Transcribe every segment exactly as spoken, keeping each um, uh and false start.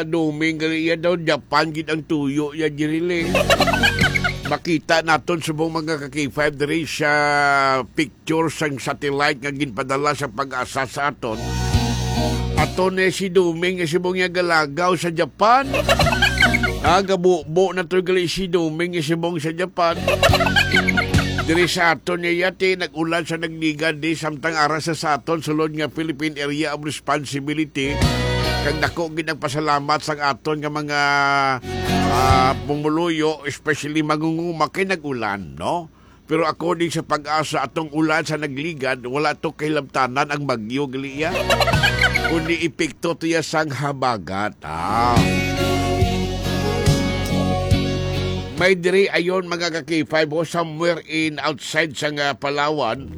Duming gali iya daw, Japan gid ang tuyo ya, Jiriling. Makita naton subong mga ka-K five diri sa picture sang satellite nga ginpadala sa PAGASA sa aton. Ato ni si Duming nga subong niya galagaw sa Japan. Ah, gabubo na to gali si Duming nga subong sa Japan. Diri sa aton niya yati, nag-ulan sa nagligad di samtang ara sa, sa aton sulod nga Philippine Area of Responsibility. Kag dako gid ang pasalamat sang aton nga mga, ah, pumuluyo, especially mangunguma kay nag-ulan, no? Pero according sa PAGASA, atong ulan sa nagligad, wala to kahilabtanan ang bagyo, gali iya. Kundi epekto to iya sang habagat. Ah. May diri ayon, mga ka-K five, oh, somewhere in outside sa nga Palawan,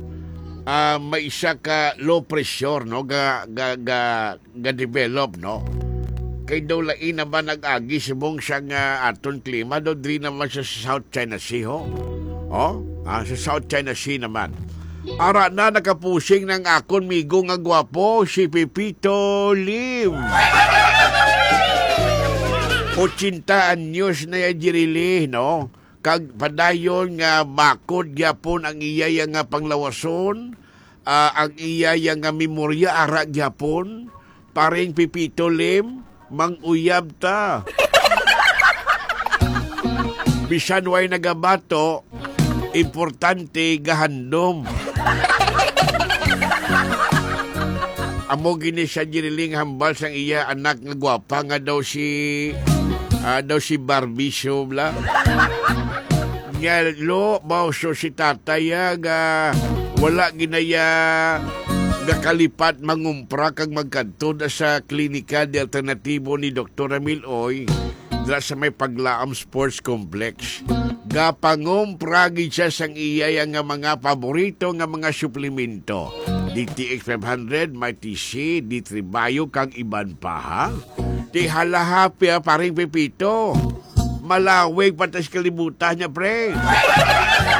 ah, may isa ka low pressure, no, ga, ga, ga, ga-develop, no? Kay daw lain naman nag-agi subong sa nga aton klima, daw diri naman sa South China Sea, ho? Oh? Ah, sa South China Sea naman. Ara na, nakapusing ng akon migo nga gwapo, si Pepito Lim. Ochenta anyos na ya, Jirili, no? Kag padayon nga bakod gyapon ang iya ya nga panglawason, ah, ang iya ya nga memorya, ara gyapon, paring Pepito Lim, mang-uyab ta. Bisan way nagabato, importante gahandom. Amo gini siya, Jiriling, hambal sang iya anak nga gwapa nga daw si, ah, daw si Barbie Show, bla. Nga, lo, mao so si tatay, ah, nga wala ginaya gakalipat mangumpra kag magkadto na sa Klinika de Alternativo ni Doktor Ramil Oy, dira sa may Paglaam Sports Complex. Gapangumpra gid siya sang iya nga mga paborito nga mga suplemento. D T X five hundred, may T C, D three Bio, kag iban pa, ha? Di halahapi, ha, paring Pepito. Malawig pa tas kalibutan niya, pre.